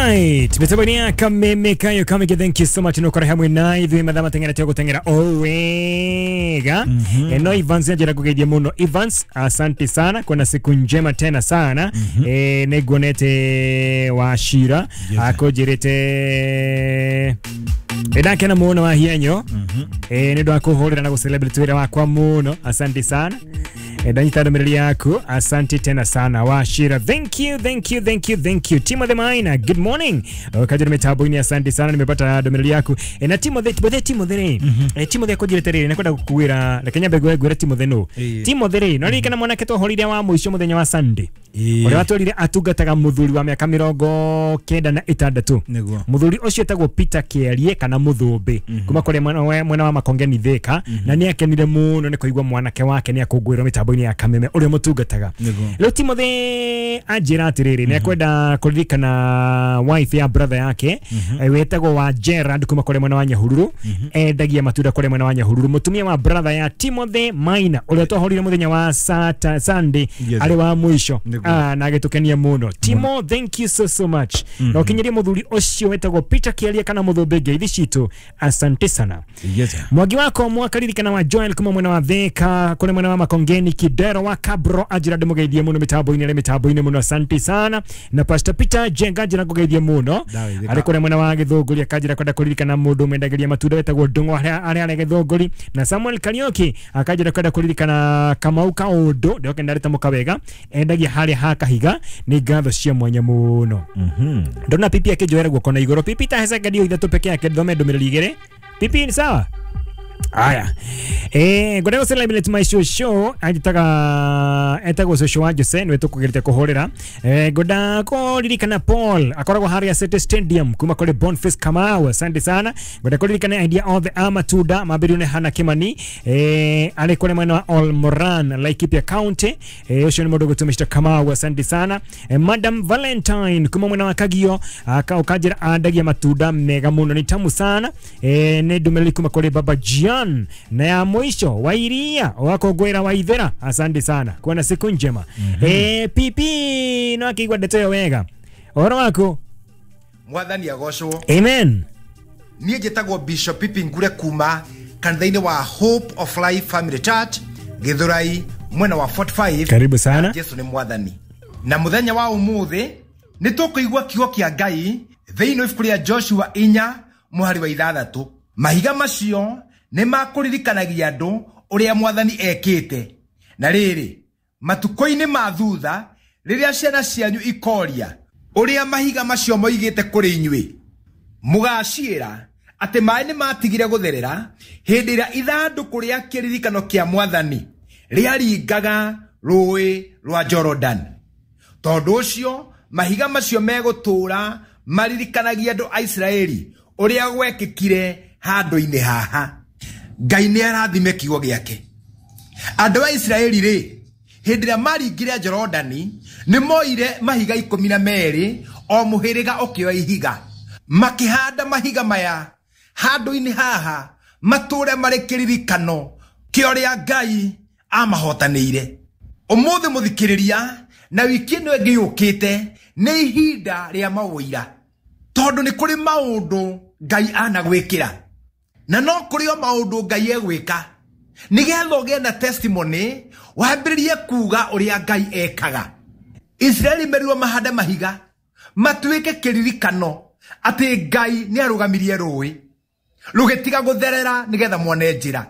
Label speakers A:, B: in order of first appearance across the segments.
A: Alright, mitambo ya Kameme Kayo Kameke, thank you so much nokora hamwe na ithuĩ mathaa mateng'era tĩa gũteng'era o wega. No Evans njĩra kugeithia mũno Evans, asante sana kuna siku njema tena sana. Nĩnguonete Wachira akũnjĩrĩte ndakena mũno wa hienyo nĩ ũndũ wa kũhũrĩra na gũcelebrate wĩra wakwa mũno, asante sana. Ndanyita ndũmĩrĩri yaku, asante tena sana Wachira, thank you, thank you, thank you, thank you. Timothy Maina, good morning. Kaja mitambo-inĩ, asante sana, nimepata ndũmĩrĩri yaku. Na Timothy, Timothy, Timothy rĩ, Timothy akũnjĩrĩte rĩrĩ, nĩkwenda gũkuĩra, reke nyambe ngwĩre Timothy nũ. Timothy rĩ, no ririkana mwanake twahũrire wa mũico mũthenya wa Sunday, ũrĩa watwĩrire atungataga mũthuri wa mĩaka 96. Mũthuri ũcio etagwo Peter Kĩarie kana Mũthũmbĩ, kuma kũrĩa mwena wa Makongeni Thika, na nĩ akenire mũno nĩ kũigua mwanake wake nĩ akũngũĩrwo mĩtambo-inĩ ya Kameme ũrĩa mũtungataga. Rĩu Timothy anjĩra atĩrĩrĩ, nĩ akwenda kũririkana wife ya brother yake wetagwo wa Gerard kuma kũrĩa mwena wa Nyahururu, endagia matunda kũrĩa mwena wa Nyahururu. Mũtumia wa brother ya Timothy Maina ũrĩa twahũrire mũthenya wa Sunday arĩ wa mũico, na agĩtũkenia mũno. Timo, thank you so so much. Na ũkinyirie mũthuri ũcio wetagwo Peter Kĩarie kana Mũthũmbĩ ngeithi citũ, asante sana. Mwangi wako mwakaririkana wa Joel kuma mwena wa Thika kũrĩa mwena wa Makongeni Kidero wa Kabro anjĩra ndĩmũgeithie mũno mĩtambo-inĩ, arĩ mĩtambo-inĩ mũno, asante sana. Na Pastor Peter Jenga anjĩra ngũgeithie mũno arĩ kũrĩa mwena wa Gĩthũngũri, akanjĩra kwenda kũririkana mũndũ mendagĩria matunda wetagwo Ndung'u arĩa arĩ Gĩthũngũri. Na Samuel Kariuki akanjĩra kwenda kũririkana Kamau Kaũndũ, ndĩroke ndarĩtamũka wega, endagia harĩa ha Kahiga, nĩ ngatho cia mwanya mũno. Ndona pipi akĩnjoera guoko na igũrũ. Pipi ta sekondi ithatũ peke yake thome ndũmĩrĩri igĩrĩ. Pipi ni sawa? Aya. Ngwenda gũ celebrate my show anjitaga etagwo shosho wa Jose nĩwe tũkũgerete kũhũrĩra. Ngwenda kũririkana Paul akoragwo harĩa City Stadium kuma kũrĩ Boniface Kamau, asante sana. Ngwenda kũririkana idea othe a matunda mambĩrĩrio nĩ Hannah Kimani, arĩ kũrĩ mwena wa Olmoran Laikipia County. Ũcio nĩ mũndũ ũgwĩtwo Mr Kamau, asante sana. Madam Valentine kuma mwena wa Kagio ũkanjĩra andagia matunda mega mũno, nĩ tamu sana. Nĩ ndũmĩrĩri kuma kũrĩ Baba Gian. Na ya mwisho Wairia wakongwera Waithera, asante sana, kuwa na siku njema. Pipi no akigwa ndeto yo wega ũhoro waku.
B: Mwathani agocwo.
A: Amen.
B: Niĩ njĩtagwo Bishop Pipi Ngure kuma kanitha-inĩ wa Hope of Life Family Church Githurai mwena wa 45.
A: Karibu sana.
B: Jesu nĩ mwathani. Na mũthenya wa ũmũthĩ nĩ tũkũigua kiugo kĩa Ngai thĩinĩ wa ibuku rĩa Joshua 4 mũhari wa 6. Mahiga macio nĩ makũririkanagia andũ ũrĩa mwathani ekĩte. Na rĩrĩ, matukũ-inĩ ma thutha rĩrĩa ciana cianyu ikoria ũrĩa mahiga macio moigĩte kũrĩ inyuĩ, mũgaciĩra atĩ maĩ nĩ matigire gũtherera hĩndĩ ĩrĩa ithandũkũ rĩa kĩririkano kĩa mwathani rĩaringaga rũĩ rwa Jordan. Tondũ ũcio mahiga macio megũtũũra maririkanagia andũ a Isiraeli ũrĩa gwekĩkire handũ-inĩ haha. Ngai nĩ arathime kiugo gĩake. Andũ a Isiraeli rĩ, hĩndĩ ĩrĩa maringire Jorodani nĩ moire mahiga 12 o mũhĩrĩga ũkĩoya ihiga, makĩhanda mahiga maya handũ-inĩ haha matũũre marĩ kĩririkano kĩa ũrĩa Ngai amahotanĩire. Ũmũthĩ mũthikĩrĩria, na wiki ĩno ĩngĩ yũkĩte nĩ ihinda rĩa maũira, tondũ nĩ kũrĩ maũndũ Ngai anagwĩkĩra na no kũrĩ o maũndũ Ngai egwĩka nĩgetha ũgĩe na testimony wambĩrĩrie kuga ũrĩa Ngai ekaga. Isiraeli merirwo mahande mahiga matuĩke kĩririkano atĩ Ngai nĩ arũgamirie rũĩ rũgĩtiga gũtherera nĩgetha muone njĩra,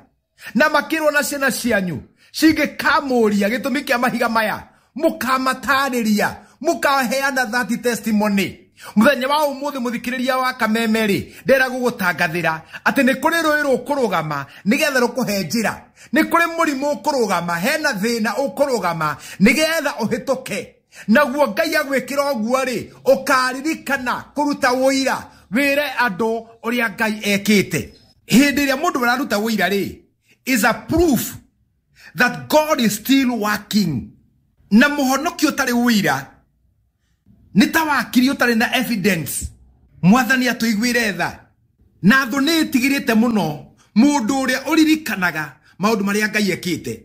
B: na makĩrwo na ciana cianyu cingĩkamũria gĩtũmi kĩa mahiga maya mũkamatarĩria, mũkaheana that testimony. Mũthenya wa ũmũthĩ mũthikĩrĩria wa Kameme rĩ, ndĩrenda gũgũtangathĩra atĩ nĩ kũrĩ rũĩ rũkũrũgama nĩgetha rũkũhe njĩra, nĩ kũrĩ mũrimũ ũkũrũgama, hena thĩna ũkũrũgama nĩgetha ũhĩtũke. Naguo Ngai agwĩkĩra ũguo rĩ, ũkaririkana kũruta ũira wĩre andũ ũrĩa Ngai ekĩte. Hĩndĩ ĩrĩa mũndũ araruta ũira rĩ, is a proof that God is still working. Na mũhonokio ũtarĩ ũira nĩ ta wakiri ũtarĩ na evidence. Mwathani atũiguĩre tha. Na thũ nĩ ĩtigĩrĩte mũno mũndũ ũrĩa ũririkanaga maũndũ marĩa Ngai ekĩte.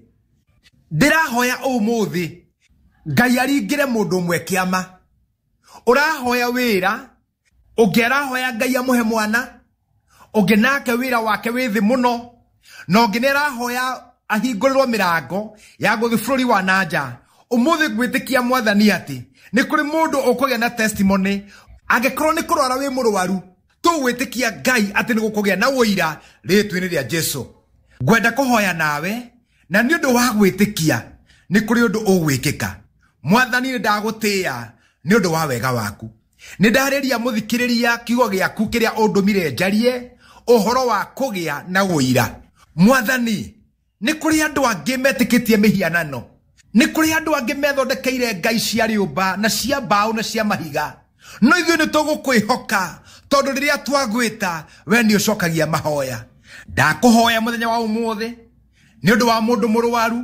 B: Ndĩrahoya ũmũthĩ Ngai aringĩre mũndũ ũmwe kĩama. Ũrahoya wĩra Ũngĩ arahoya Ngai amũhe mwana, ũngĩ nake wĩra wake wĩ thĩ mũno, na ũngĩ nĩ arahoya ahingũrĩrwo mĩrango ya gũthiĩ bũrũri wa nanja. Ũmũthĩ ngwĩtĩkia Mwathani atĩ nĩ kũrĩ mũndũ ũkũgĩa na testimony. Angĩkorwo nĩ kũrwara wĩ mũrwaru, tũgwĩtĩkia Ngai atĩ nĩ gũkũgĩa na ũira rĩĩtwa-inĩ rĩa Jesu. Ngwenda kũhoya nawe, na nĩ ũndũ wa gwĩtĩkia nĩ kũrĩ ũndũ ũgwĩkĩka. Mwathani, nĩ ndagũtĩĩa nĩ ũndũ wa wega waku. Nĩ ndarĩria mũthikĩrĩria kiugo gĩaku kĩrĩa ũndũmire njarie ũhoro wa kũgĩa na ũira. Mwathani, nĩ kũrĩ andũ angĩ metĩkĩtie mĩhianano, nĩ kũrĩ andũ angĩ methondekeire ngai cia rĩũmba na cia mbaũ na cia mahiga, no ithuĩ nĩ tũgũkwĩhoka tondũ rĩrĩa twagwĩta we nĩ ũcokagia mahoya. Ndakũhoya mũthenya wa ũmũthĩ nĩ ũndũ wa mũndũ mũrwaru,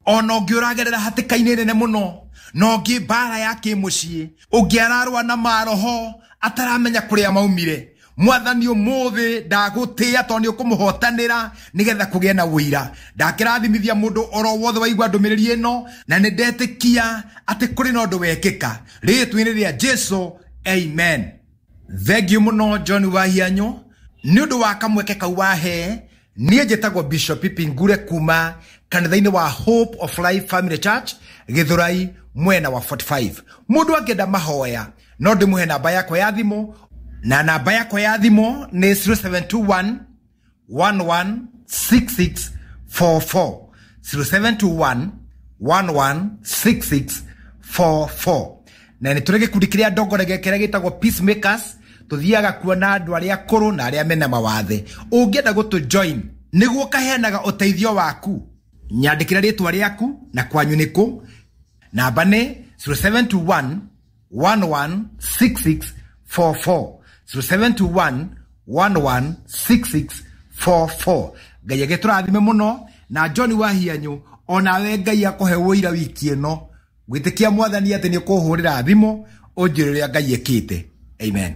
B: ona ũngĩ ũragerera hatĩka-inĩ nene mũno, na ũngĩ mbara ya kĩmũciĩ, ũngĩ ararũa na maroho ataramenya kũrĩa maumire. Mwathani, ũmũthĩ ndagũtĩĩa tondũ nĩ ũkũmũhotanĩra nĩgetha kũgĩe na ũira. Ndakĩrathimithia mũndũ oro wothe waigua ndũmĩrĩri ĩno, na nĩ ndetĩkia atĩ kũrĩ na ũndũ wekĩka rĩĩtwa-inĩ rĩa Jesu, amen. Thengiũ mũno John Wahianyũ nĩ ũndũ wa kamweke kau wahe. Niĩ njĩtagwo Bishop Pipi Ngure kuma kanitha-inĩ wa Hope of Life Family Church Gĩthũrai mwena wa 45. Mũndũ angĩenda mahoya no ndĩmũhe namba yakwa ya thimũ, na namba yakwa ya thimũ nĩ 0721 116644, 0721 116644. Na nĩ tũrĩ gĩkundi kĩrĩa ndongoragia kĩrĩa gĩtagwo Peacemakers. Tũthiaga kuona andũ arĩa akũrũ na arĩa mena mawathe. Ũngĩenda gũtũ join nĩguo kaheanaga ũteithio waku, nyandĩkĩra rĩtwa rĩaku na kwanyu nĩ kũ. Namba nĩ 0721 116644, 0721 116644. Ngai agĩtũrathime mũno. Na John Wahianyũ, onawe Ngai akũhe ũira wiki ĩno. Gwĩtĩkia Mwathani atĩ nĩ ũkũhũrĩra thimũ ũnjĩre ũrĩa Ngai ekĩte. Amen.